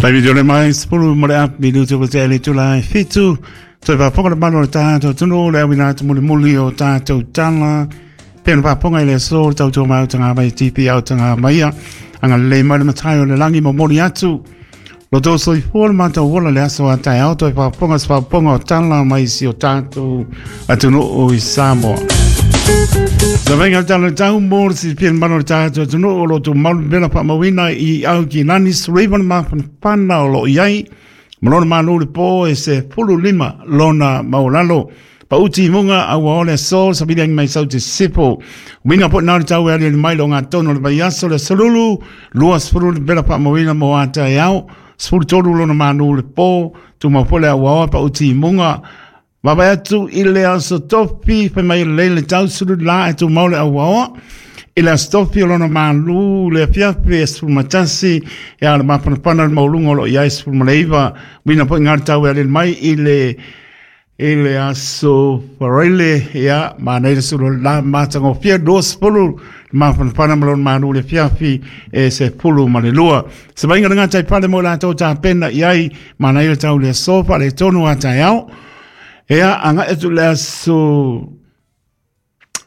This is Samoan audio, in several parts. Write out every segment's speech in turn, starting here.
Taimi tole mai 10 ma le api minutu ua tea i le itula e 7. Toe faafofoga le mamalu o le tatou atunuu le auina atu mulimuli o tatou tala. Pei ona faafofoga i le aso le tautua mai autaga mai TP autaga maia. Agalelei mai le Matai o le lagi momoli atu. Lo tou soifua le matou ola le aso a taeao toe faafofoga se faafofoga o tala mai si o tatou atunuu i Samoa. Sa vainga le tala le tau mo le silafia le mamalu o le tatou atunuu o lo o tumau le mela faamauina i Aukilani Sullivan mafanafana o lo o i ai ma lona malo le po e se 15 lona maualalo. Pauti i muga a ua ole aso savili angi mai sau te sipo. Uiga po nā le tau e aliali mai lo ngā tono le vai aso le solulu, 20 le pela whaamauina mo ata e ao, 13 lona manu le po, tumau po le aua oa pauti i muga. Vaavaai atu i le aso tofi, fai mai lelei le tau sulu la e tumau le aua oa. I le aso tofi o lona malu le afiafi e 11, e a le mafanafana le mauluga o lo o i ai 19. Uiga foi ngā le tau e aliali mai i le I le aso Faraile, ia, manaia le sulu la matagofie 20 le mafanafana ma lona malu le afiafi e 12. Se vaaiga le gatai fale mo i latou tapena i ai, manaia le tau le aso faaletonu a taeao. Ia, agai atu i le aso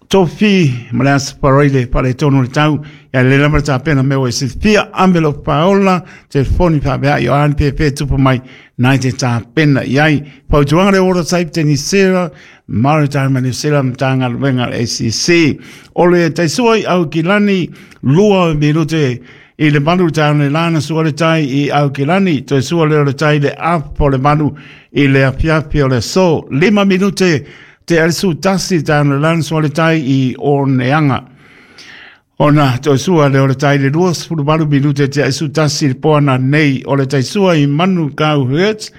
Tofi ma le aso Faraile faaletonu o le tau, ia lelei lava le tapena mea ua e silafia, ame lou faaola, telefoni faaveai o a ni pēpē tupu mai nā i te tapena i ai. Fautuaga le Water Type Tenisera, Maritime New Zealand Matagaluega le ACC. O le taisua i Aukilani, 2 minute i le 8 le taeao nei la na sua le tai i Aukilani, toe sua lea o le tai i le afa o le 8 i le afiafi o le aso, 5 minute Te Arisu tasi taeao lana sua le tai i Oneaga. Ona toe sua lea o le tai le 28 minute te Arisu tasi le poana nei o le tai sua i Manukau Hertz.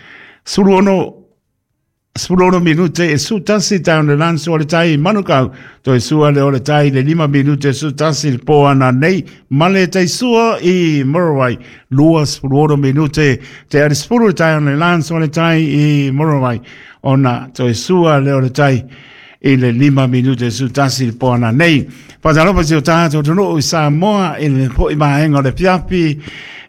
16 minute e su tasi taeao lana sua le tai i Manukau. Toe sua lea o le tai le 5 minute e su tasi le poana nei ma le tai sua i Muriwai. 26 minute te Arisu le taeao lana sua le tai i Muriwai. Ona toe sua lea o le tai i le 5 minute su tasi le poana nei. Faatalofa si o tātou atunuu i Samoa i le foi vaega o le afiafi.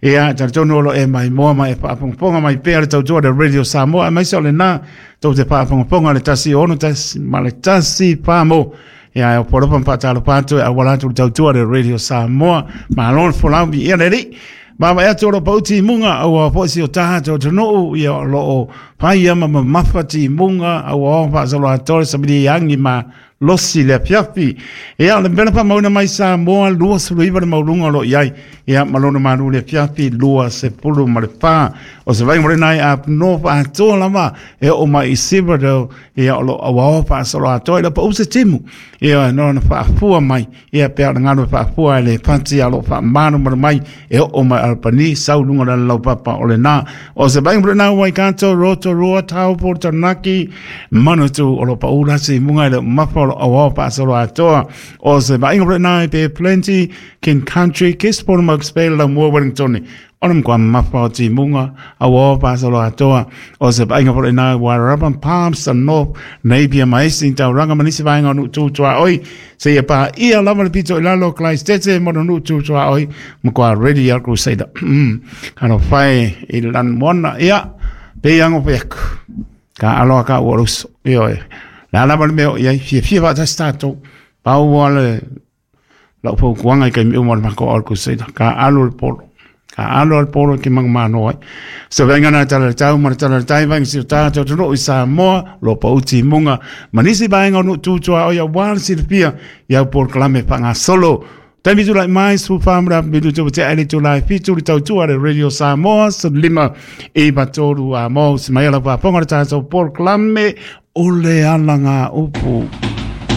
Ia, talitonu o lo e mai moa mai e faafogafoga mai pea le tautua le Radio Samoa, aemaise o lena tou te faafogafoga le 1 6 1 ma le 1 4 mo. Ia, e opo alofa ma faatalofa atu e auala atu le tautua le Radio Samoa. Malo le folau mi ia le alii. Vaavaai atu o lo o pau timuga aua foi si o tatou atunuu ia o lo o fai ama mamafa timuga aua o faasoloatoa le samili agi ma losi le afiafi. Ia o le mea na faamauina mai Samoa 29 le maualuga o lo o i ai ia ma lona malu le afiafi 24. O se vaaiga mo lena i Up North atoa lava e oo mai i Silverdale ia o lo o auaoa faasoloatoa i le pau se timu ia no na faafua mai Ia pea o le galu e faafua e le pati a lo faamalumalu mai e oo mai Albany sau luga o le laupapa o lena. O se vaaiga mo lena Waikato, Rotorua, Taupo, Taranaki, Manatu o lo pau lasi i muga i le mafa o lo auao faasolo atoa. O se vaaiga mo lena i Bay of Plenty, King Country, Gisborne, Mokes Bay, Laumua, Wellington, o le matua mafa o timuga aua o faasolo atoa o se vaaiga foi lena Wairarapa Palmerston North Napier ma isi taulaga ma nisi vaega o nuu tu tuaoi seia paia lava le pito i lalo Christchurch ma nuu tu tuaoi matua ready a Crusader talofa e i le lanumoana ia pei ango pe aku ka aloa ka ua uso ioe le a lava le mea o i ai fiafia faatasi tatou pau lava le Lau fautuaga i taimi uma o le matou All Crusader, ka alu le polo. Ka alu le polo e te manumalo ai. Se vaaiga na tala le tau ma le tala le tai vaega si o tātou atunuu i Samoa, lo pau timuga, ma nisi vaega o nuu tu tuaoi aua le silafia i au polokalame faagasolo. Taimi tulai mai, 14 ma le afa minute ua tea i le itula e 7 le tautua le Radio Samoa, 15 i 3 a mo, se mai ala faafofoga le tātou polokalame o le alagaupu.